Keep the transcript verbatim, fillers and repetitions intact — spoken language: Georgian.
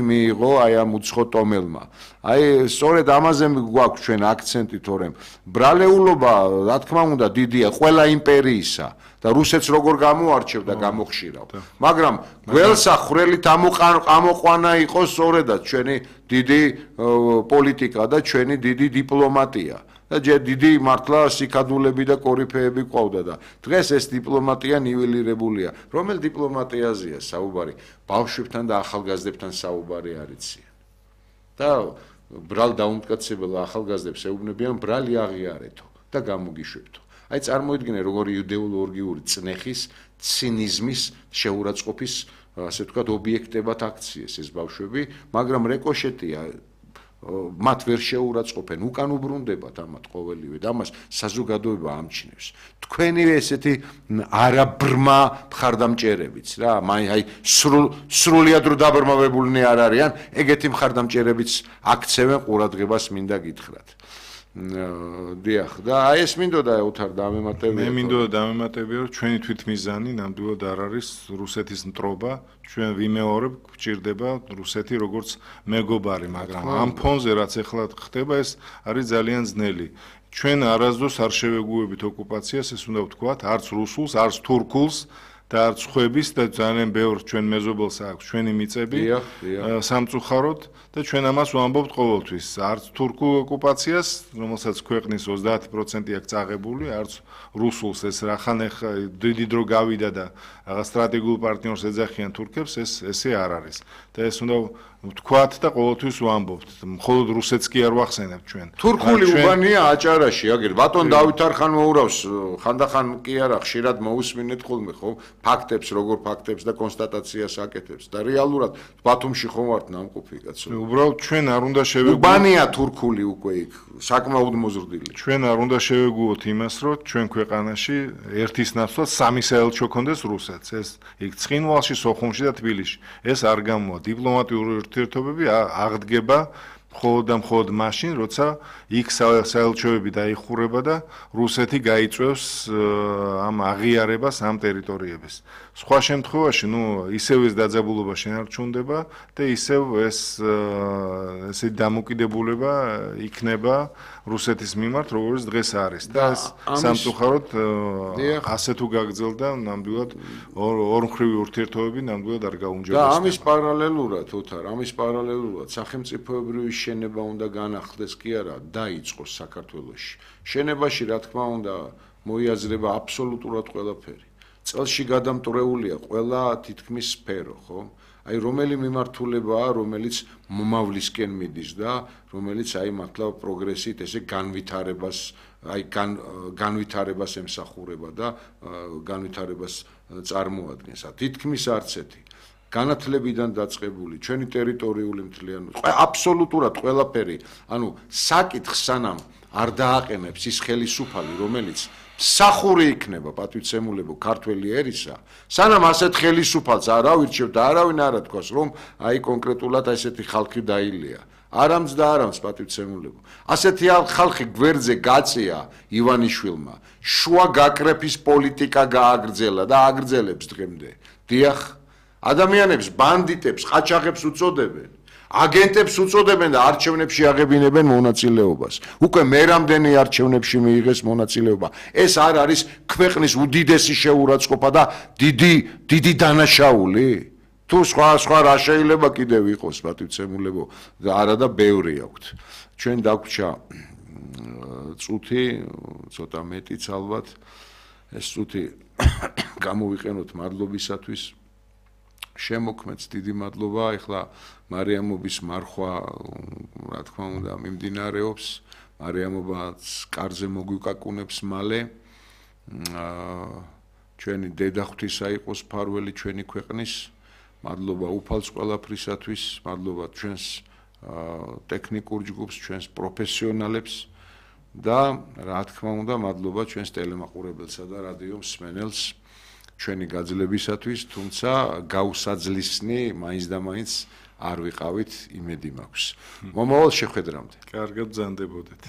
მიიღო აი ამ უცხო ტომელმა. აი სწორედ ამაზე გვაქვს ჩვენ აქცენტი, თორემ ბრალეულობა, რა თქმა უნდა, დიდია ყველა იმპერიისა და რუსეთს როგორ გამოარჩევდა გამოხშირავ. მაგრამ გველსახვრელით ამოყვანა იყო სწორედაც ჩვენი დიდი პოლიტიკა და ჩვენი დიდი დიპლომატია. და ჯერ დიდი მართლა სიკადულები და კორიფეები ყავდა და დღეს ეს დიპლომატია ნიველირებულია. რომელ დიპლომატიაზეა საუბარი? ბავშვებთან და ახალგაზრდებთან საუბარი არ იციან. და ბრალ დაუმტკიცებელ ახალგაზრდებს ეუბნებიან ბრალი აღიარეთო და გამოგიშვებთო. აი წარმოიდგინე როგორი იდეოლოგიური წნეხის, ცინიზმის, შეურაცხყოფის, ასე ვთქვათ, ობიექტებად აქციეს ეს ბავშვები, მაგრამ რეკოშეტია მათ ვერ შეურაცხყოფენ, უკან უბრუნდებათ ამათ ყოველივე და ამას საზოგადოება ამჩნევს. თქვენი ესეთი არაბრმა მხარდამჭერებიც რა, აი სრულიად რო დაბრმავებულნი არ არიან, ეგეთი მხარდამჭერებიც აქცევენ ყურადღებას მინდა გითხრათ. დიახ, და აი ეს მინდოდა უთარ დამემატებია. მე მინდოდა დამემატებია, რომ ჩვენი თვითმიზანი ნამდვილად არ არის რუსეთის მტრობა, ჩვენ ვიმეორებ, გვჭირდება რუსეთი როგორც მეგობარი, მაგრამ ამ ფონზე რაც ახლა ხდება, ეს არის ძალიან ძნელი. ჩვენ არასდროს არ შევეგუებით ოკუპაციას, ეს უნდა ვთქვათ, არც რუსულს, არც თურქულს და არც ხვების და ძალიან ბევრ ჩვენ მეზობელს აქვს ჩვენი მიწები სამწუხაროდ და ჩვენ ამას ვამბობთ ყოველთვის. არც თურქულ ოკუპაციას, რომელსაც ქვეყნის ოცდაათი პროცენტი აქვს წაღებული, არც რუსულს, ეს რახან ახლა დიდი დრო გავიდა და რაღაც სტრატეგიულ პარტნიორს ეძახიან თურქებს, ეს ესე არ არის. და ეს უნდა ვთქვათ და ყოველთვის ვამბობთ. მხოლოდ რუსეთს კი არ ვახსენებთ ჩვენ. თურქული უბანია აჭარაში, აგერ ბატონ დავით არხან მოურავს, ხანდახან კი არა, ხშირად მოусმინეთ ხოლმე, ხო? ფაქტებს, როგორ ფაქტებს და კონსტატაციას აკეთებს და რეალურად ბათუმში ხომ ვართ ნამყოფი კაცო. უბრალოდ ჩვენ არ უნდა შევეგუოთ. უბანია თურქული უკვე იქ, საკმაოდ მოზრდილი. ჩვენ არ უნდა შევეგუოთ იმას, რომ ჩვენ ქვეყანაში ერთის ნაცვლად სამი საელჩო ქონდეს რუსეთს. ეს იქ ცხინვალში, სოხუმში და თბილისში. ეს არ გამოვა. დიპლომატიური ურთიერთობები აღდგება მხოლოდ და მხოლოდ მაშინ, როცა იქ საელჩოები დაიხურება და რუსეთი გაიწვევს ამ აღიარებას ამ ტერიტორიების. სხვა შემთხვევაში, ნუ ისევ ეს დაძაბულობა შენარჩუნდება და ისევ ეს ესე დამოკიდებულება იქნება რუსეთის მიმართ, როგორც დღეს არის. და ეს სამწუხაროდ ასე თუ გაგრძელდა, ნამდვილად ორმხრივი ურთიერთობები ნამდვილად არ გაუმჯობესდება. და ამის პარალელურად, უთარ, ამის პარალელურად სახელმწიფოებრივი შენება უნდა განახლდეს კი არა, დაიწყოს საქართველოში. შენებაში, რა თქმა უნდა, მოიაზრება აბსოლუტურად ყველაფერი. წელში გადამტვრეულია ყველა თითქმის სფერო, ხო? აი რომელი მიმართულებაა, რომელიც მომავლისკენ მიდის და რომელიც აი მართლა პროგრესით ესე განვითარებას, აი განვითარებას ემსახურება და განვითარებას წარმოადგენს. თითქმის არც ერთი. განათლებიდან დაწყებული, ჩვენი ტერიტორიული მთლიანობა, აბსოლუტურად ყველაფერი, ანუ საკითხს სანამ არ დააყენებს ის ხელისუფალი, რომელიც მსახური იქნება პატივცემულებო ქართველი ერისა, სანამ ასეთ ხელისუფალს არ ავირჩევ და არავინ არ ათქვას, რომ აი კონკრეტულად ესეთი ხალხი დაილია. არამც და არამც პატივცემულებო. ასეთი ხალხი გვერდზე გაწია ივანიშვილმა, შუა გაკრეფის პოლიტიკა გააგრძელა და აგრძელებს დღემდე. დიახ, ადამიანებს ბანდიტებს, ყაჩაღებს უწოდებენ. აგენტებს უწოდებენ და არჩევნებში აღებინებენ მონაწილეობას. უკვე მერამდენი არჩევნებში მიიღეს მონაწილეობა. ეს არ არის ქვეყნის უდიდესი შეურაცხყოფა და დიდი დიდი დანაშაული? თუ სხვა სხვა რა შეიძლება კიდევ იყოს პატივცემულებო და არა და ბევრი აქვთ. ჩვენ დაგვრჩა წუთი, ცოტა მეტიც ალბათ. ეს წუთი გამოვიყენოთ მადლობისათვის. შემოქმედს დიდი მადლობა, ეხლა მარიამობის მარხვა, რა თქმა უნდა, მიმდინარეობს. მარიამობაც კარზე მოგვიკაკუნებს მალე. ჩვენი დედა ღვთისა იყოს ფარველი ჩვენი ქვეყნის. მადლობა უფალს ყველაფრისათვის, მადლობა ჩვენს ტექნიკურ ჯგუფს, ჩვენს პროფესიონალებს და რა თქმა უნდა, მადლობა ჩვენს ტელემაყურებელსა და რადიო მსმენელს. ჩვენი გაძლებისათვის, თუმცა გავსაძლისნი მაინც და მაინც არ ვიყავით, იმედი მაქვს. მომავალ შეხვედრამდე. კარგად ბრძანდებოდეთ.